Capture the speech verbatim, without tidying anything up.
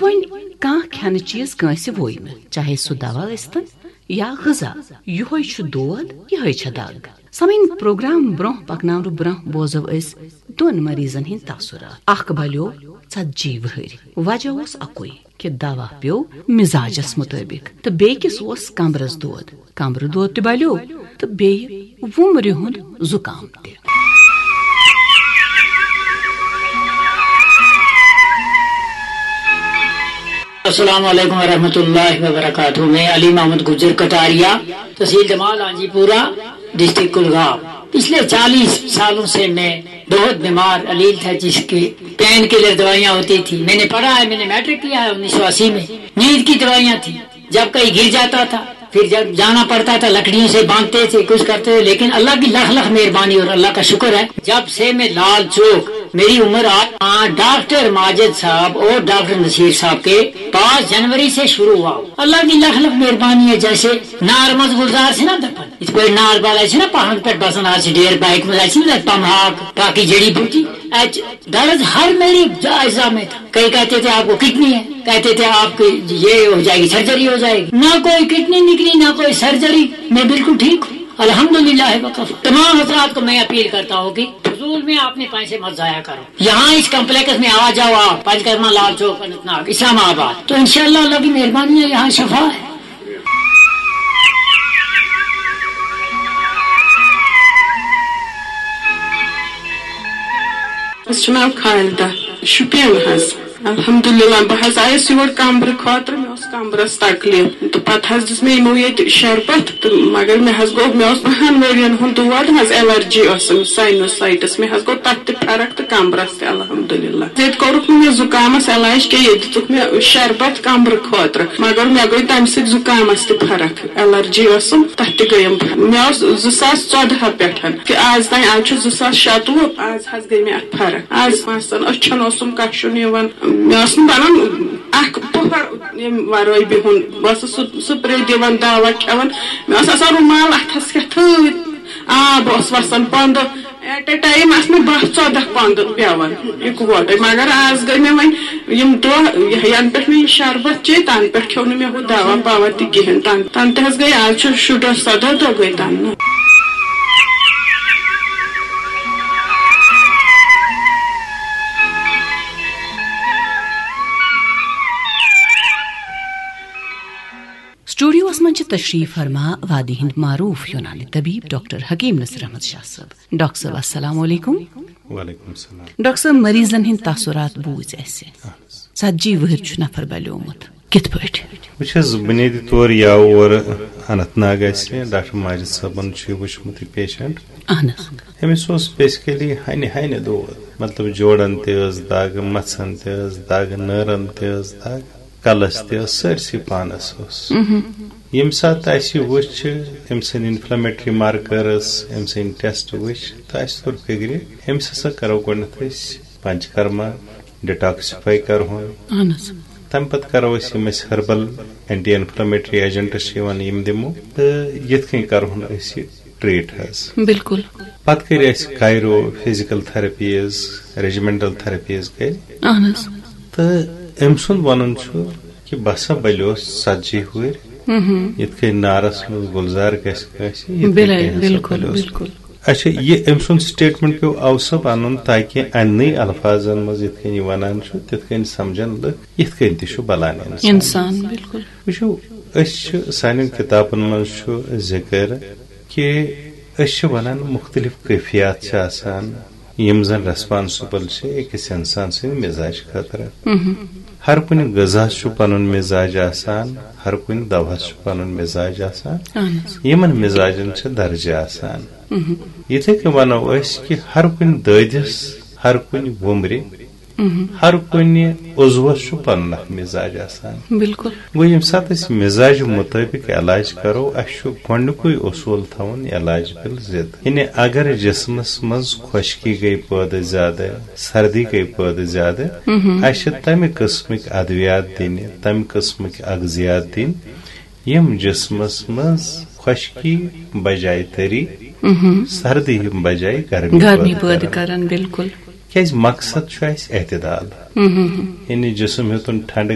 وۄنۍ کانٛہہ کھٮ۪نہٕ چیٖز کٲنٛسہِ ووٚے نہٕ، چاہے سُہ دوا ٲسۍتن یا غذا، یِہوٚے چھُ دود، یِہوٚے چھےٚ دگ۔ سامعیٖن، پروگرام برٛونٛہہ پکناونہٕ برٛونٛہہ بوزو أسۍ دۄن مریضن ہٕنٛدۍ تاثرات۔ اکھ بلیو ژتجی وٕہٕرۍ، وجہ اوس اکُے کہِ دوا پیوٚو مزاجس مطٲبق تہٕ بیٚکِس اوس کمبرس دود۔ کمبرٕ دود تہِ بلیو تہٕ بیٚیہِ وُمرِ ہُنٛد زُکام تہِ۔ السلام علیکم ورحمۃ اللہ وبرکاتہ۔ میں علی محمد گجر کٹاریا، تحصیل جمال آنجی پورہ، ڈسٹرکٹ کولگام۔ پچھلے چالیس سالوں سے میں بہت بیمار علیل تھا، جس کی پین کلر دوائیاں ہوتی تھی۔ میں نے پڑھا ہے، میں نے میٹرک کیا ہے انیس سو اسی میں۔ نیند کی دوائیاں تھی، جب کہیں گر جاتا تھا، پھر جب جانا پڑتا تھا، لکڑیوں سے باندھتے تھے، کچھ کرتے تھے، لیکن اللہ کی لکھ لکھ مہربانی اور اللہ کا شکر ہے، جب سے میں لال چوک، میری عمر آج، ہاں، ڈاکٹر ماجد صاحب اور ڈاکٹر نصیر صاحب کے پاس جنوری سے شروع ہوا۔ اللہ کی لکھ لکھ مہربانی ہے، جیسے نار منٛز گُلزار چھِنہ دَپان، یِتھ پٲٹھۍ نار بال آسہِ چھِنہ پہاڑن پٮ۪ٹھ بسان، آز چھِ ڈیر بایک منٛز آسہِ چھِنہ تَتہِ پم ہاک، باقی جڑی بوٹی، اَتہِ درد ہر میری اجزا میں تھا۔ کئی کہتے تھے آپ کو کڈنی ہے، کہتے تھے آپ کی یہ ہو جائے گی، سرجری ہو جائے گی۔ نہ کوئی کڈنی نکلی، نہ کوئی سرجری، میں بالکل ٹھیک ہوں، الحمدللہ وکفا۔ تمام حضرات کو میں اپیل کرتا ہوں کہ فضول میں اپنے پیسے مت ضائع کرو۔ یہاں اس کمپلیکس میں آ جاؤ آپ، پنچ کرما، لال چوک، اننت ناگ، اسلام آباد، تو انشاءاللہ اللہ کی مہربانی ہے، یہاں شفا ہے۔ مےٚ چھُ ناو خالدہ، شُپین حظ۔ الحمدللہ، بہٕ حظ آیس یور کمبرٕ خٲطرٕ، مےٚ اوس کمبرس تکلیف، تہٕ پتہٕ حظ دِژ مےٚ یِمو ییٚتہِ شربت، تہٕ مگر مےٚ حظ گوٚو، مےٚ اوس وُہن ؤرین ہُنٛد دود حظ، الرجی ٲسٕم، ساینوسائٹس، مےٚ حظ گوٚو تتھ تہِ فرق تہٕ کمبرس تہِ الحمدللہ۔ ییٚتہِ کوٚرُکھ نہٕ مےٚ زُکامس علاج کینٛہہ، ییٚتہِ دِژٕکھ مےٚ شربت کمبرٕ خٲطرٕ، مگر مےٚ گٔے تمہِ سۭتۍ زُکامس تہِ فرق۔ الرجی ٲسٕم، تتھ تہِ گٔیم فرق۔ مےٚ اوس زٕ ساس ژۄدہ پٮ۪ٹھ، کہِ آز تام، آز چھُ زٕ ساس شَتوُہ، آز حظ گٔے مےٚ اتھ فرق۔ آز مثلاً أچھن اوسُم کشُن یِوان، مےٚ اوس نہٕ بنان اکھ پۄہر ییٚمہِ ورٲے بِہُن۔ بہٕ ٲسٕس سُہ سپرے دِوان، دوا کھٮ۪وان، مےٚ اوس آسان رومال اتھس کٮ۪تھ تھٲوِتھ، آب اوس وسان پندٕ۔ ایٹ اے ٹایم آسہٕ مےٚ باہ ژۄدہ کۄندٕ پٮ۪وان اِکوٹے، مگر آز گٔے مےٚ وۄنۍ یِم دۄہ، یہِ، ینہٕ پٮ۪ٹھ مےٚ یہِ شربت چے، تنہٕ پٮ۪ٹھ کھیوٚو نہٕ مےٚ ہُہ دوا پوا تہِ کِہیٖنۍ۔ تن-، تنہٕ تہِ حظ گٔے، آز چھُ شُراہ سداہ دۄہ گٔے تنہٕ۔ سٹوڈیوس منٛز چھِ تشریف فرما وادی ہٕنٛدۍ معروف یونانی طبیب ڈاکٹر حکیم نصیر احمد شاہ صٲب۔ ڈاکٹر صٲب، السلام علیکم۔ وعلیکم السلام۔ ڈاکٹر صٲب، مریضن ہٕنٛدۍ تاثرات بوٗزۍ اَسہِ۔ اہن حظ۔ ژتجی وُہٕرۍ چھُ نفر بلیومُت۔ کِتھ پٲٹھۍ؟ وٕچھ حظ، بُنیٲدی طور یہِ آو اورٕ اننت ناگ اَسہِ، ڈاکٹر ماجد صٲبن چھُ یہِ وٕچھمُت یہِ پیشنٹ۔ اہن حظ۔ أمِس اوس بیسکلی ہنہِ ہنہِ دود، مطلب جوڑن تہِ ٲس دگ، مژھن تہِ ٲس دگ، نٲرن تہِ ٲس دگ، کلس تہِ ٲس، سٲرسٕے پانس اوس۔ ییٚمہِ ساتہٕ اَسہِ یہِ وٕچھ، أمۍ سٕنٛدۍ انفلیمیٹری مارکرس، أمۍ سٕنٛدۍ ٹیسٹ وٕچھ، تہٕ اَسہِ توٚر فِکرِ، أمِس ہسا کرو گۄڈٕنٮ۪تھ أسۍ پنچکرما، ڈیٹاکسیفائی کرہون۔ اہن حظ۔ تَمہِ پتہٕ کرو أسۍ یِم اَسہِ ہربل اینٹی انفلیمیٹری ایجنٹس چھِ یِوان، یِم دِمو، تہٕ یِتھ کٔنۍ کرہون أسۍ یہِ ٹریٹ حظ۔ بِلکُل۔ پتہٕ کٔرۍ اَسہِ کایرو فزیکل تھراپیز، ریجیمنٹل تھراپیز کٔرۍ۔ اہن حظ۔ تہٕ أمۍ سُنٛد وَنُن چھُ کہِ بہٕ ہسا بلیوس ژتجی وُہٕرۍ، یِتھ کٔنۍ نارس منٛز گُلزار گژھِ کٲنٛسہِ، یِتھ کٔنۍ بِلے، کٔنۍ ہسا بِلکُل، بلیوس۔ بِلکُل۔ اچھا، یہِ أمۍ سُنٛد سٹیٹمنٹ پیوٚو اَوٕ سبب اَنُن تاکہِ اَننٕے الفاظن منٛز یِتھ کٔنۍ یہِ وَنان چھُ، تِتھ کٔنۍ سمجھن لُکھ، یِتھ کٔنۍ تہِ چھُ بلان اِنسان۔ اِنسان، بِلکُل۔ وٕچھِو، أسۍ چھِ، سانٮ۪ن کِتابن منٛز چھُ ذِکر کہِ أسۍ چھِ وَنان مُختٔلِف کیفیات چھِ آسان، یِم زَن ریسپانسبل چھِ أکِس اِنسان سٕنٛدِ مِزاج خٲطرٕ۔ ہر کُنہِ غذاہَس چھُ پَنُن مِزاج آسان، ہر کُنہِ دَوہَس چھُ پَنُن مِزاج آسان، اہن حظ۔ یِمن مِزاجن چھِ درجہٕ آسان۔ یِتھے کٔنۍ وَنو أسۍ کہِ ہر کُنہِ دٲدِس، ہر کُنہِ وُمرِ، ہر کُنہِ عضوس چھُ پنُن اکھ مزاج آسان۔ بِلکُل۔ گوٚو، ییٚمہِ ساتہٕ أسۍ مزاج مُطٲبِق علاج کرو، اَسہِ چھُ گۄڈٕنیُکُے اصوٗل تھاوُن علاج بالضد۔ یعنی اگر جسمس منٛز خۄشکی گٔے پٲدٕ زیادٕ، سردی گٔے پٲدٕ زیادٕ، اَسہِ چھِ تمہِ قٕسمٕکۍ ادویات دِنہِ، تمہِ قٕسمٕکۍ اغذیات دِنۍ، یِم جسمس منٛز خۄشکی بجایہِ تٔری، سردی بجایہِ گرمی گرمی پٲدٕ پٲدٕ کرن۔ کرن، بِلکُل۔ کیازِ مقصد چھُ اَسہِ اعتدال۔ یعنی جسم ہیوٚتُن ٹھنڈٕ